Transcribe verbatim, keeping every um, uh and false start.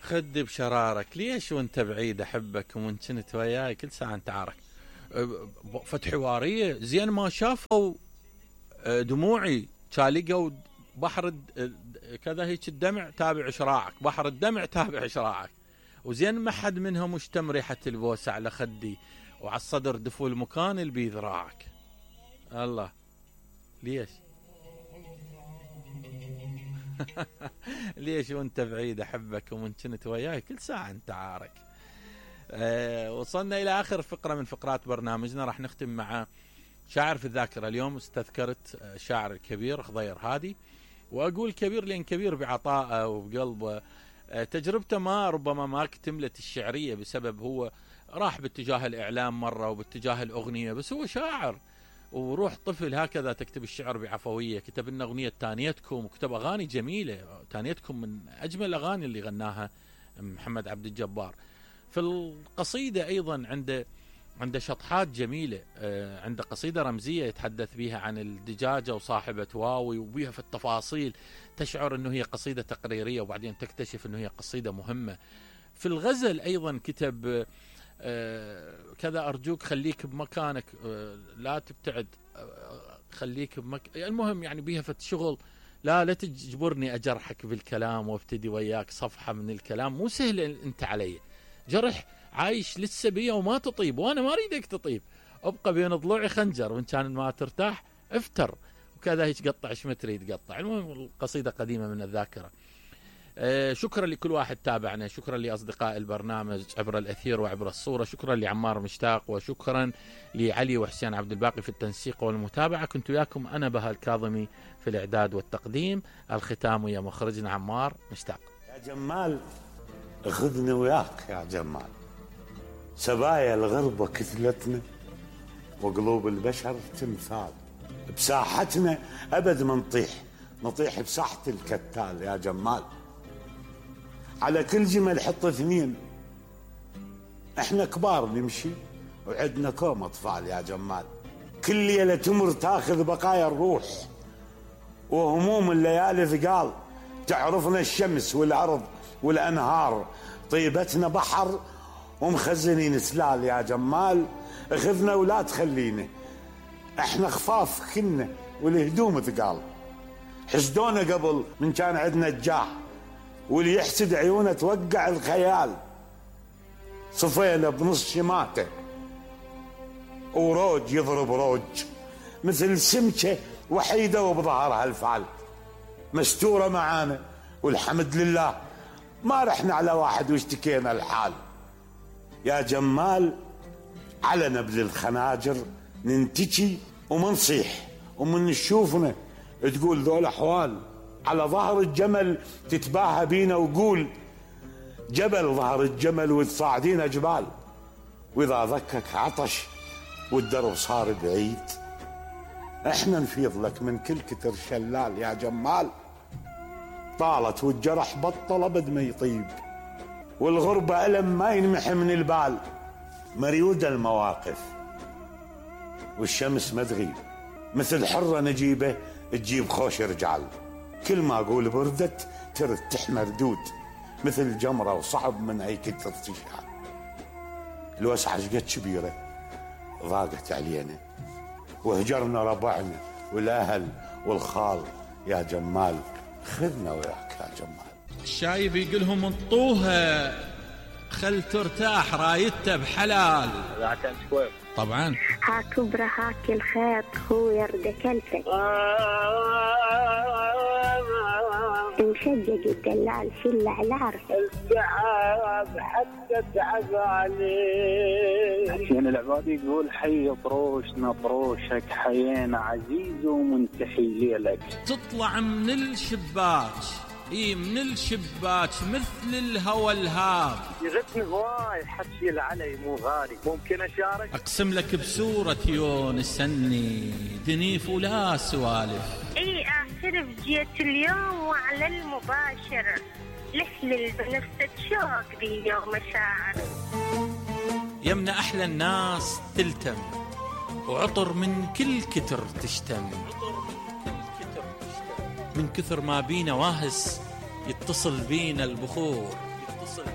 خدي بشرارك ليش وانت بعيد احبك ومن كنت وياي كل ساعه انت عارك. فتح حواريه زين ما شافوا دموعي شالقوا بحر كذا هيك الدمع تابع شراعك، بحر الدمع تابع شراعك، وزين ما حد منهم مشتم ريحه البوسه على خدي وعلى الصدر دفو المكان اللي بذراعك. الله ليش ليش وانت بعيد احبك ومن كنت وياي كل ساعه انت عارك. أه وصلنا الى اخر فقره من فقرات برنامجنا، راح نختم مع شاعر في الذاكره. اليوم استذكرت الشاعر الكبير خضير هادي، واقول كبير لان كبير بعطائه وبقلبه. أه تجربته ما ربما ما اكتملت الشعريه بسبب هو راح باتجاه الاعلام مره وباتجاه الاغنيه، بس هو شاعر وروح طفل هكذا تكتب الشعر بعفويه. كتب لنا اغنيه تانيتكم وكتب اغاني جميله. تانيتكم من اجمل الاغاني اللي غناها محمد عبد الجبار. في القصيده ايضا عنده عنده شطحات جميله. عنده قصيده رمزيه يتحدث بها عن الدجاجه وصاحبه واوي، وبها في التفاصيل تشعر انه هي قصيده تقريريه وبعدين تكتشف انه هي قصيده مهمه. في الغزل ايضا كتب آه كذا أرجوك خليك بمكانك، آه لا تبتعد، آه خليك بمك... المهم يعني بيها فت شغل. لا لا تجبرني أجرحك بالكلام وابتدي وياك صفحة من الكلام، مو سهل أنت علي، جرح عايش لسه بيا وما تطيب وأنا ما أريدك تطيب، أبقى بين ضلوعي خنجر وإن كان ما ترتاح افتر وكذا هيك قطع ايش ما تريد قطع. المهم القصيدة قديمة من الذاكرة. آه شكرا لكل واحد تابعنا، شكرا لأصدقاء البرنامج عبر الأثير وعبر الصورة، شكرا لعمار مشتاق، وشكرا لعلي وحسين عبد الباقي في التنسيق والمتابعة. كنت وياكم أنا بها الكاظمي في الإعداد والتقديم. الختام ويا مخرجنا عمار مشتاق. يا جمال خذنا وياك يا جمال، سبايا الغربة كتلتنا وقلوب البشر تمثال، بساحتنا أبد ما نطيح، نطيح بساحة الكتال يا جمال. على كل جمل حط اثنين، احنا كبار نمشي وعدنا كوم اطفال يا جمال. كل ليلة تمر تاخذ بقايا الروح وهموم الليالي ثقال، تعرفنا الشمس والارض والانهار، طيبتنا بحر ومخزنين سلال يا جمال. اخذنا ولا تخلينا، احنا خفاف كنا والهدوم ثقال، حسدونا قبل من كان عندنا الجاه، واللي يحسد عيونه توقع الخيال. صفينا بنص شماته وروج يضرب روج، مثل سمكه وحيده وبظهرها الفعل، مستوره معانا والحمد لله، ما رحنا على واحد واشتكينا الحال. يا جمال على نبل الخناجر ننتجي ومنصيح، ومن نشوفنا تقول ذول احوال، على ظهر الجمل تتباهى بينا وقول جبل ظهر الجمل وتصاعدين جبال. واذا ذكك عطش والدرب صار بعيد، احنا نفيض لك من كل كتر شلال يا جمال. طالت والجرح بطل ابد ما يطيب، والغربة ألم ما ينمحي من البال. مريودة المواقف والشمس ما تغيب، مثل حرة نجيبة تجيب خوش رجال. كل ما اقول بردت ترد تحمى ردود، مثل جمرة وصعب من اي كتر تشعل. الوسعة شقد كبيرة ضاقت علينا، وهجرنا ربعنا والاهل والخال يا جمال. خذنا وياك يا جمال. الشايب يقولهم انطوها خل ترتاح رايته بحلال. طبعا هاك برا هاك الخيط هو يرد كلفك، مشجج الدلال في العلار، التعب حتى تعب عليه. حسين العبادي يقول حي طروشنا طروشك، حيينا عزيز ومنتحي ليلك. تطلع من الشباك، اي من الشباك مثل الهوى الهاب. يغثني هواي حكي العلي مو غالي، ممكن اشارك؟ اقسم لك بسورة يونس اني دنيف ولا سوالف. اي اعترف جيت اليوم وعلى المباشر، لحلل بنفسك شوق بي يوم مشاعر. يمنا احلى الناس تلتم، وعطر من كل كتر تشتم، من كثر ما بينا واهس يتصل بينا البخور. فاصل.